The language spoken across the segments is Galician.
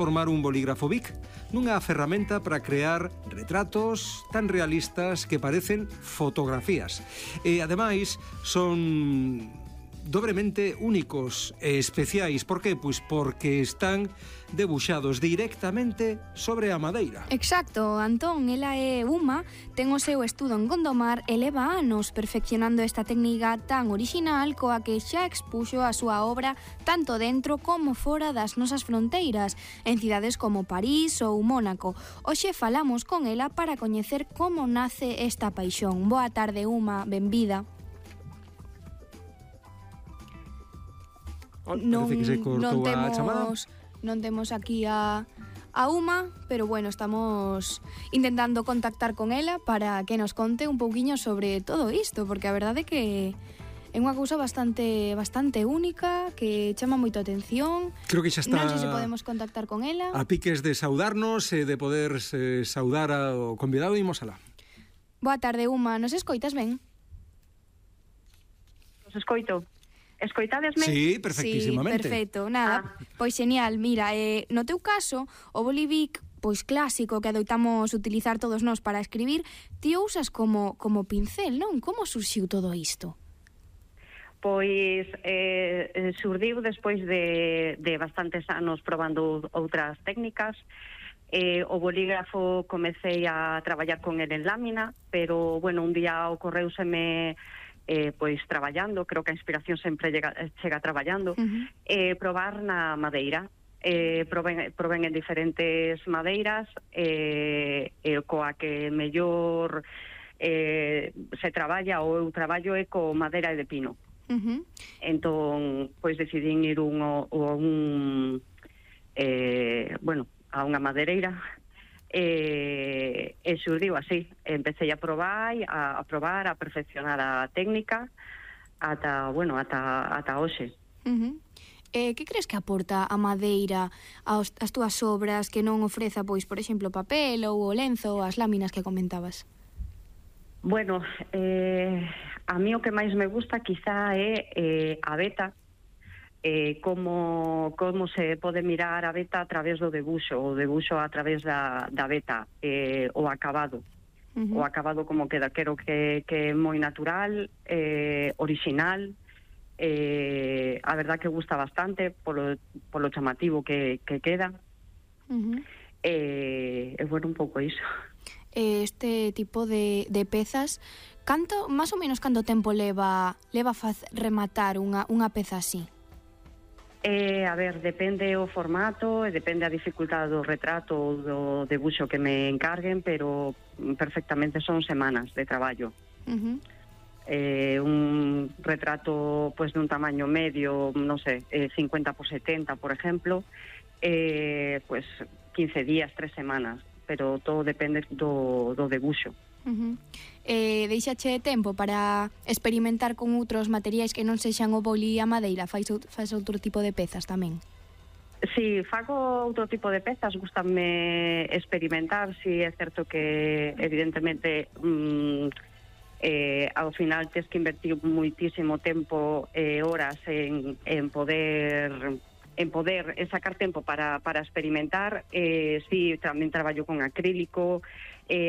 Formar un bolígrafo Bic nunha ferramenta para crear retratos tan realistas que parecen fotografías. E, ademais, son dobremente únicos e especiais. Por que? Pois porque están debuxados directamente sobre a madeira. Exacto, Antón, ela é Uma, ten o seu estudo en Gondomar e leva anos perfeccionando esta técnica tan orixinal coa que xa expuxo a súa obra tanto dentro como fora das nosas fronteiras, en cidades como París ou Mónaco. Hoxe falamos con ela para coñecer como nace esta paixón. Boa tarde, Uma, benvida. Parece que se cortou a chamada. Non temos aquí a Uma, pero bueno, estamos intentando contactar con ela para que nos conte un pouquiño sobre todo isto, porque a verdade é que é unha cousa bastante única, que chama moito a atención. Creo que xa está. Non sei se podemos contactar con ela. A piques de saudarnos e de poder saudar ao convidado, imos alá. Boa tarde, Uma, nos escoitas ben? Nos escoito. Escoitadesme? Sí, perfectísimamente. Sí, perfecto, nada, pois genial. Mira, no teu caso, o bolivic, pois clásico que adoitamos utilizar todos nós para escribir, ti usas como pincel, non? Como surxiu todo isto? Pois surdiu despois de bastantes anos probando outras técnicas. O bolígrafo comecei a traballar con el en lámina, pero, bueno, un día ocorreuseme pois traballando, creo que a inspiración sempre chega traballando, probar na madeira. Proben en diferentes madeiras, coa que mellor se traballa, ou eu traballo é co madeira de pino. Entón, pois decidín ir a unha madeireira, e xurdiu así. Empecé a probar, a perfeccionar a técnica ata hoxe. Que crees que aporta a madeira ás túas obras que non ofreza, pois, por exemplo, papel ou o lenzo ou as láminas que comentabas? Bueno, a mí o que máis me gusta quizá é a veta, como se pode mirar a veta a través do debuxo, o debuxo a través da veta, o acabado. O acabado como queda, quero que é moi natural, orixinal, a verdad que gusta bastante polo chamativo que queda. Bueno, un pouco iso. Este tipo de pezas, máis ou menos canto tempo leva rematar unha peza así? A ver, depende o formato e depende a dificultade do retrato ou do debuxo que me encarguen, pero perfectamente son semanas de traballo. Un retrato pois dun tamaño medio, non sei, 50 por 70, por exemplo, pois 15 días, 3 semanas, pero todo depende do debuxo. Deixache tempo para experimentar con outros materiais que non sexan o boli e a madeira? Faz outro tipo de pezas tamén? Si, fago outro tipo de pezas, gustame experimentar. Si é certo que evidentemente ao final tes que invertir moitísimo tempo e horas en poder sacar tempo para experimentar. Si, tamén traballo con acrílico,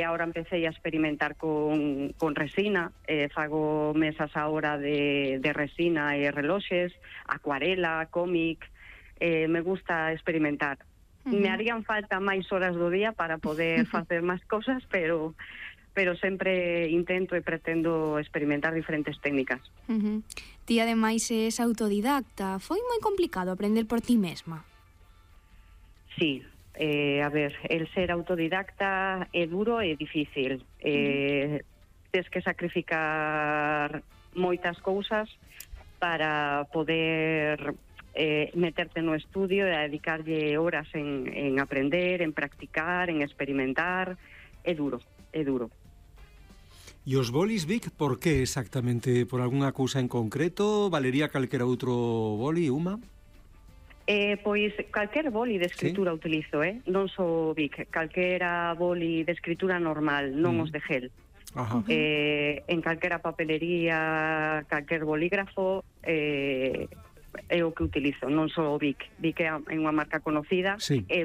ahora empecé a experimentar con resina, fago mesas ahora de resina e reloxes, acuarela, cómic. Me gusta experimentar. Me harían falta máis horas do día para poder facer máis cosas, pero sempre intento e pretendo experimentar diferentes técnicas. Ti, ademais, és autodidacta. Foi moi complicado aprender por ti mesma? Sí. A ver, el ser autodidacta é duro e difícil. Tens que sacrificar moitas cousas para poder meterte no estudio e dedicarlle horas en aprender, en practicar, en experimentar. É duro. E os bolis Bic, por que exactamente? Por algunha cousa en concreto? Valería calquera outro boli, Uma? Pois calquer boli de escritura utilizo, non só Bic, calquera boli de escritura normal, non os de gel. En calquera papelería, calquer bolígrafo, é o que utilizo, non só o Bic. Bic é unha marca conocida, é